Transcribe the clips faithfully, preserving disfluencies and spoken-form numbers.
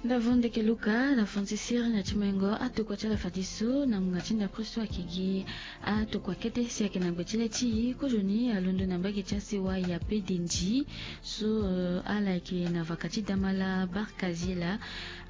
Ndavon ndeke Luka na Francis Siri na ti mengo atokua ti ala fade so na ngonga ti ndapre so ayeke gi atokua kete si ayeke na gbe ti le ti e. Kozoni alondo na mbage ti asewa Yape Denzi so, eh, ala yeke na vaka ti Damala Barkazila.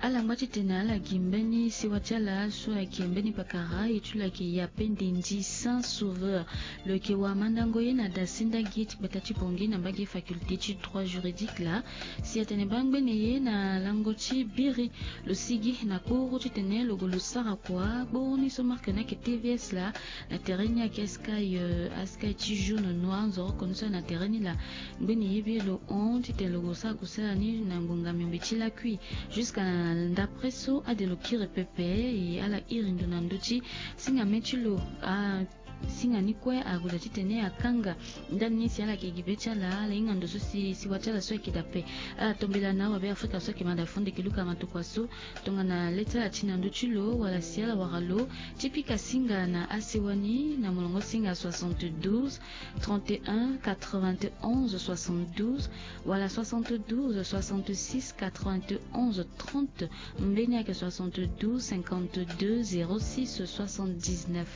Ala ngba titene ala gi mbeni sewa ti ala so ayeke mbeni pakara e ti lo ayeke Yape Denzi Saint Sauveur. Lo yeke wamandango ye na da senda gi ti gbata ti Bangui na mbage faculté ti droit juridique laa. Si atene baa ngbene ye na lango ti biri, lo sigi na kporo titene lo gue lo sara kua kporo ni so marque ni ayeke T V S laa. Na tere ni ayeke sky, eh, asky ti jaune noir nzoroko ni so na tere ni laa. Ngbene ye be lo hon titene lo gue lo sara kusala ni na ngonga miombe ti lakui. Jusqu'à na ndapre so ade lo kiri pepe, e ala iri ndo na ndö ti singa me ti lo. Ah, singa ni kue ague daa titene akanga ndani ni si ala yeke gi be ti ala, ala hinga ndo so si sewa ti ala so ayeke daa ape. Ala tombela na awabe Afrika so ayeke mada fo ndeke Luka matokua so tongana le ti ala ti na ndö ti lo wala si ala wara lo ti pika singa na asewa ni na molongo singa soixante-douze, trente et un, quatre-vingt-onze, soixante-douze, wala soixante-douze, soixante-six, quatre-vingt-onze, trente, mbeni ayeke soixante-douze, cinquante-deux, zéro six, soixante-dix-neuf.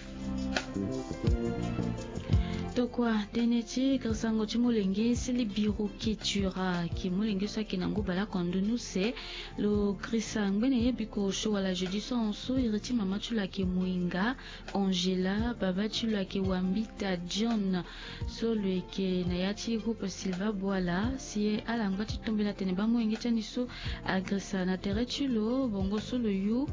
Tokua tënë ti grisango ti molenge Sili Biro Ketura, ayeke molenge so ayeke na ngu baleoko na ndö ni use. Lo grisa ngbene ye biko osio wala jeudi so ahon so, iri ti mama ti lo ayeke Moinga Angela, babâ ti lo ayeke Wambita John, so lo yeke na ya ti groupe Silva Boala. Si ala ngba ti tombela atene baa molenge ti ani so agrisa na tere ti lo, bongo so lo yu,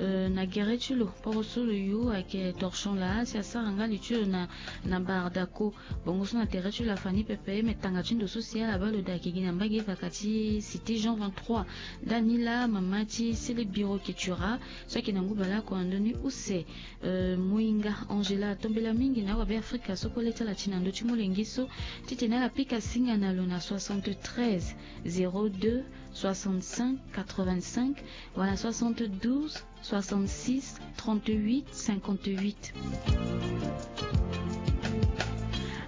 eh, na gere ti lo, poro so lo yu ayeke torchon laa, si asara nga li ti lo na, na Bardako. Bongo so na tere ti lo afa ni pepe, me tanga ti ndo so si ala baa lo daa ayeke gi na mbage vaka ti cité Jean vingt-trois. Ndani laa mama ti Sili Biro Ketura so ayeke na ngu baleoko na ndö ni use, eh, Moinga Angela atombela mingi na awabe Afrika so kue le ti ala ti na ndö ti molenge so, titene ala pika singa na lo na soixante-treize, zéro deux, soixante-cinq, quatre-vingt-cinq, wala soixante-douze, soixante-six, trente-huit, cinquante-huit.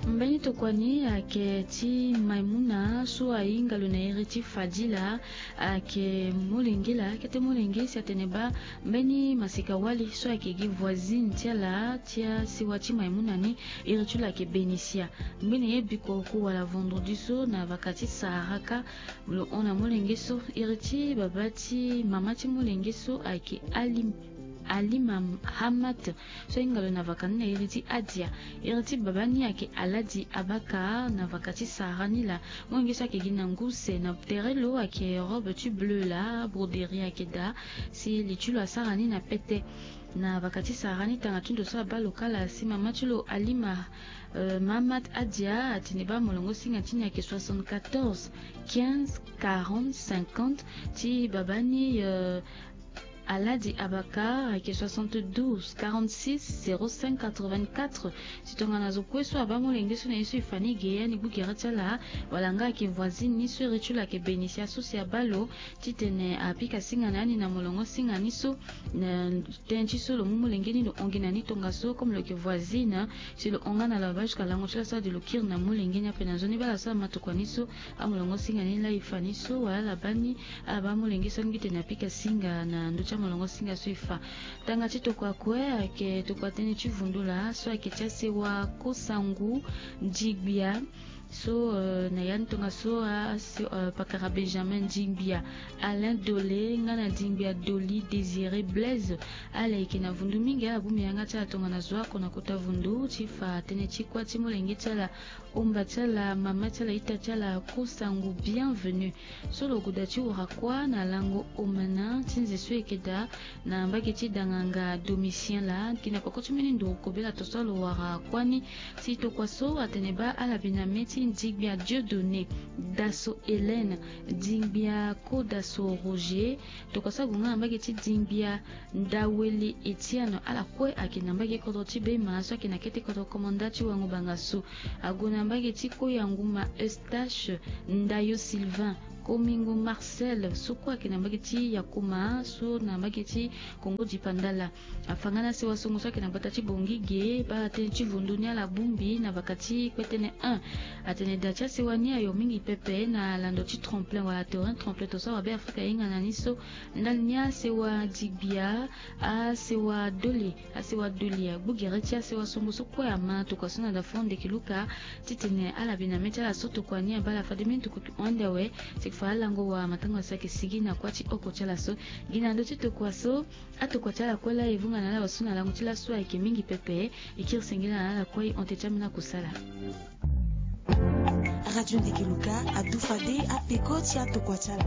Mbeni tokua ni ayeke ti Maimouna so ahinga lo na iri ti Fadila, ayeke molenge laa, kete molenge si atene baa mbeni masika wali so ayeke gi voisine ti ala ti asewa ti Maimouna ni, iri ti lo ayeke Benicia. Ngbene ye biko oku wala vendredi so na vaka ti Saharaka, lo hon na molenge so. Iri ti babâ ti mama ti molenge so ayeke Ali, Alima Hamat, so ahinga lo na vaka ni na iri ti Adia. Iri ti babâ ni ayeke Aladi Abaka na vaka ti Sahara ni laa. Molenge so ayeke gi na ngu use, na tere lo ayeke robe ti bleu laa, broderie ayeke daa, si li ti lo asara ni na pete. Na vaka ti Sahara ni, tanga ti ndo so abaa lo kâ laa, si mama ti lo Alima, eh, Mahamat Adia atene baa molongo singa ti ni ayeke soixante-quatorze, quinze, quarante, cinquante. Ti babâ ni, eh, Aladi Abaka ayeke soixante-douze, quarante-six, zéro cinq, quatre-vingt-quatre. Si tongana zo kue so abaa molenge so na ye so e fa ni ge, ani gbu gere ti ala, wala nga ayeke voisine ni so iri ti lo ayeke Benicia so si abaa lo titene apika singa na ani na molongo singa ni so, na tënë ti so lo mu molenge ni lo hon gi na ni tongaso, comme lo yeke voisine, si lo hon nga na lo abaa jusqu'à lango ti lo so ade lo kiri na molenge ni ape. Na nzoni baa ala so amatokua ni so, amolongo singa ni laa e fa ni so, wala ala baa ni, ala baa molenge so alingbi tene apika singa na ndö ti amolongo singa so e fa. Tanga ti tokua kue ayeke tokua tënë ti vundu laa so ayeke ti asewa Kosangu Ndigbia. So, eh, na ya ni tongaso, ah, so, eh, pakara Benjamin Ndigbia, Alain Dole nga na Ndigbia Doli Désiré Blaise. Ala yeke na vundu mingi, ala gbu mbi yanga ti ala tongana zo oko na kota vundu ti fa tënë ti kuâ ti molenge ti ala, omba ti ala, mama ti ala, ita ti ala, Kosangu Bienvenue. So lo gue daa ti wara kuâ na lango omana ti nze so e yeke daa na mbage ti danganga Domitien laa, gi na peko ti mbeni nduru kobela to so lo wara kuâ ni. Si tokua so atene baa ala bi na mê ti Ndigbia Dieudonné, Daso Hélène, Ndigbia Kodaso Roger. Tokua so ague nga na mbage ti Ndigbia Ndawele Etienne, ala kue ayeke na mbage kodro ti Bema so ayeke na kete kodro komanda ti Wango Bangassou. Ague na mbage ti Koyanguma Eustache Ndayo Sylvain, Komingo Marcel so kue ayeke na mbage ti Yakoma so na mbage ti Kongo Dipandala. Afa nga na sewa songo so ayeke na gbata ti Bongige, baa tënë ti vundu ni ala bongbi na vaka ti kpetene un. Atene da ti asewa ni ayo mingi pepe na lando ti tremplin wala terrain tremplin to so awabe Afrika ahinga na ni so. Ndali ni asewa digbia, asewa doli, asewa doli agbu gere ti asewa songo so kue ama tokua so na da fo ndeke luka. Titene ala bi na mê ti ala so tokua ni abaa ala fade mbeni tokua ki hon ande awe. Si yeke fa alango wa matanga so ayeke sigi na kuâ ti oko ti ala so. Gi na ndö ti tokua so, atokua ti ala kue laa e vunga na ala wa so na lango ti laso ayeke mingi pepe. E kiri sengela na ala kue e hon teti ambeni akusala. Radio Ndeke Luka adu fade apeko ti atokua ti ala.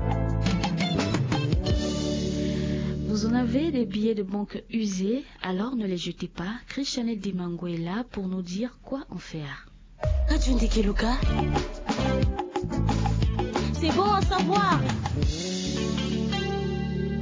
Vous en avez des billets de banque usés, alors ne les jetez pas. Christiane Dimango est là pour nous dire quoi en faire. Radio Ndeke Luka. C'est bon à savoir.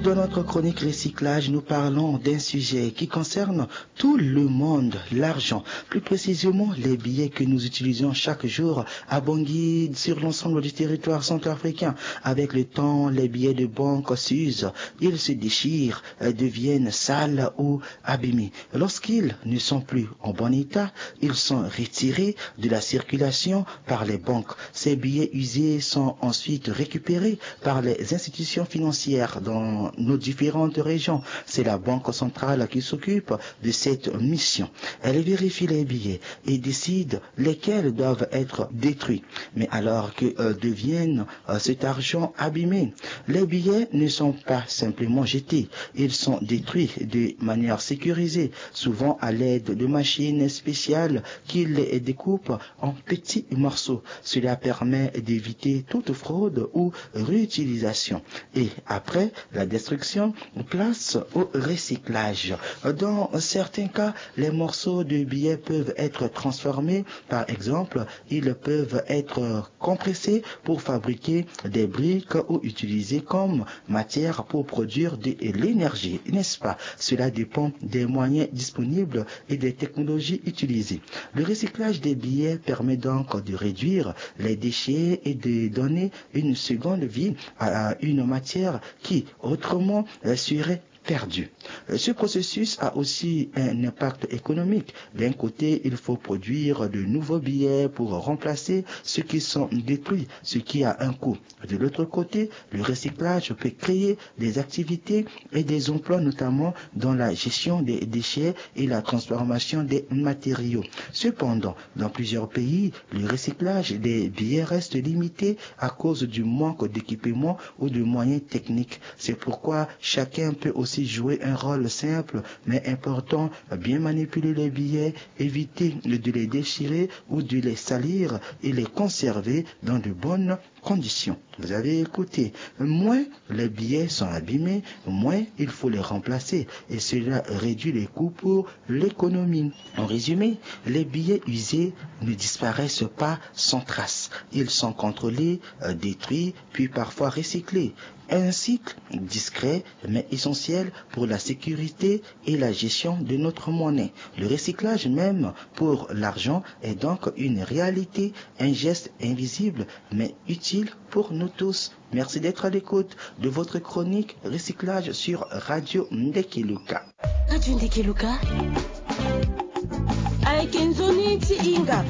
Dans notre chronique recyclage, nous parlons d'un sujet qui concerne tout le monde, l'argent. Plus précisément, les billets que nous utilisons chaque jour à Bangui, sur l'ensemble du territoire centrafricain. Avec le temps, les billets de banque s'usent, ils se déchirent, euh, deviennent sales ou abîmés. Lorsqu'ils ne sont plus en bon état, ils sont retirés de la circulation par les banques. Ces billets usés sont ensuite récupérés par les institutions financières dans nos différentes régions. C'est la Banque centrale qui s'occupe de cette mission. Elle vérifie les billets et décide lesquels doivent être détruits. Mais alors que, euh, deviennent, euh, cet argent abîmé ? Les billets ne sont pas simplement jetés, ils sont détruits de manière sécurisée, souvent à l'aide de machines spéciales qui les découpent en petits morceaux. Cela permet d'éviter toute fraude ou réutilisation. Et après la destruction, place au recyclage. Dans certains cas, les morceaux de billets peuvent être transformés. Par exemple, ils peuvent être compressés pour fabriquer des briques ou utilisés comme matière pour produire de l'énergie, n'est-ce pas ? Cela dépend des moyens disponibles et des technologies utilisées. Le recyclage des billets permet donc de réduire les déchets et de donner une seconde vie à une matière qui, autrement, euh, serait perdue. Euh, ce processus a aussi un impact économique. D'un côté, il faut produire de nouveaux billets pour remplacer ceux qui sont détruits, ce qui a un coût. De l'autre côté, le recyclage peut créer des activités et des emplois, notamment dans la gestion des déchets et la transformation des matériaux. Cependant, dans plusieurs pays, le recyclage des billets reste limité à cause du manque d'équipement ou de moyens techniques. C'est pourquoi chacun peut aussi jouer un rôle simple mais important, bien manipuler les billets, éviter de les déchirer ou de les salir et les conserver dans de bonnes conditions. Vous avez écouté. Moins les billets sont abîmés, moins il faut les remplacer. Et cela réduit les coûts pour l'économie. En résumé, les billets usés ne disparaissent pas sans trace. Ils sont contrôlés, euh, détruits, puis parfois recyclés. Un cycle discret mais essentiel pour la sécurité et la gestion de notre monnaie. Le recyclage même pour l'argent est donc une réalité, un geste invisible mais utile pour nous tous. Merci d'être à l'écoute de votre chronique recyclage sur Radio Ndeke Luka. Radio Ndeke Luka. Ayeke nzoni ti hinga.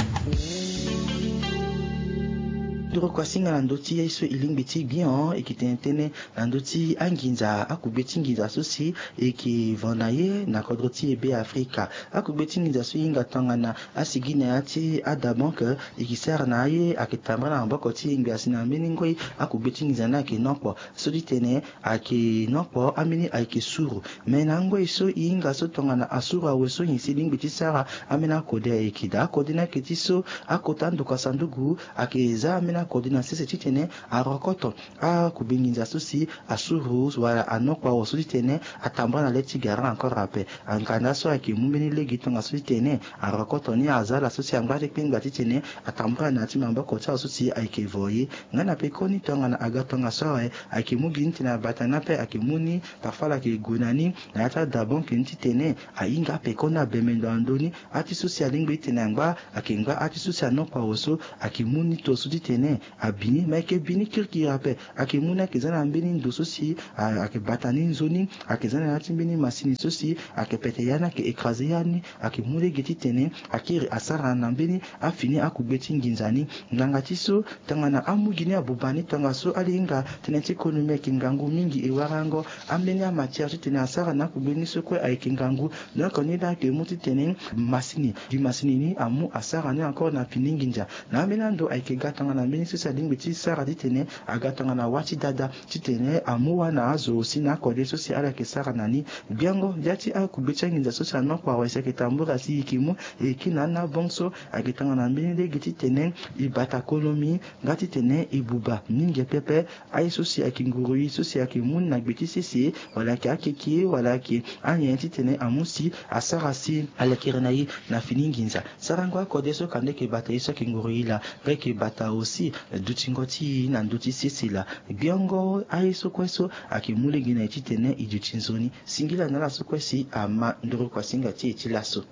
Nduru kua singa na ndö ti ye so e lingbi ti gbia, e yeke tene tënë na ndö ti anginza, akugbe ti nginza so si e yeke va na ye na kodro ti e Be Afrika. Akugbe ti nginza so e hinga tongana asigi na ya ti Ada Bank, e yeke sara na aye ayeke tambara na maboko ti e ngbia si na mbeni ngoi akugbe ti nginza ni ayeke nokpo. So ti tene ayeke nokpo ambeni ayeke suru. Me na angoi so e hinga so tongana asuru awe so nyen si e lingbi ti sara, ambeni akode ayeke daa. Akode ni ayeke ti so akota ando ka sanduku ayeke za ambeni akode na sese titene arokoto akugbe nginza so si asuru wala anokpo awe so titene atambara na le ti gara encore ape. Anganda so ayeke mu mbeni lege tongaso ti tene arokoto ni aza ala so si angba ti kpengba titene atambara na ya ti maboko ti ala so si ayeke vo ye. Nga na pekoni tongana aga tongaso awe ayeke mu gi ni titene abata ni ape ayeke mu ni, parfois ala yeke gue na ni na ya ti adabonke ni titene ahinga apekoni abembe ndo na ndö ni. Ati so si alingbi titene angba ayeke ngba ati so si anokpo awe so ayeke mu ni to so titene Abini ma eke bini kirikiri ape. Ayeke mu ni ayeke za na mbeni ndo so si ayeke bata ni nzoni. Ayeke za na ya ti mbeni masini so si ayeke pete ya ni ayeke écraser ya ni. Ayeke mu lege titene akiri asara na mbeni afini akugbe ti nginza ni. Ngbanga ti so tongana amu gi ni abuba ni tongaso ala hinga tënë ti konomi ayeke ngangu mingi e warango. Ambeni amatière titene asara na akugbe ni so kue ayeke ngangu. Donc ni laa ayeke mu titene masini gi masini ni amu asara ni encore na fini nginza. Na ambeni ando ayeke ga tongana mbeni so si alingbi ti sara titene aga tongana wa ti dada titene amu wa na azo si na akode so si ala yeke sara na ni. Biango ya ti akugbe ti anginza so si anokua wai si ayeke tambura si e yeke mu e yeke na ana bongo so ayeke tongana mbeni lege titene e bata konomi nga titene e buba mingi pepe. Aye so si ayeke nguru i so si ayeke mu ni na gbe ti sese wala ayeke akeke wala ayeke anyen titene amu si asara si alekere na ye na fini nginza. Sarango akode so kanda eke bata ye so ayeke nguru i laa nga eke bata aussi dutingo ti i na ndö ti sese laa. Gbiongo aye so kue so ayeke mu lege na e titene e duti nzoni. Singila na ala so kue si ama nduru kuasinga ti e ti laso.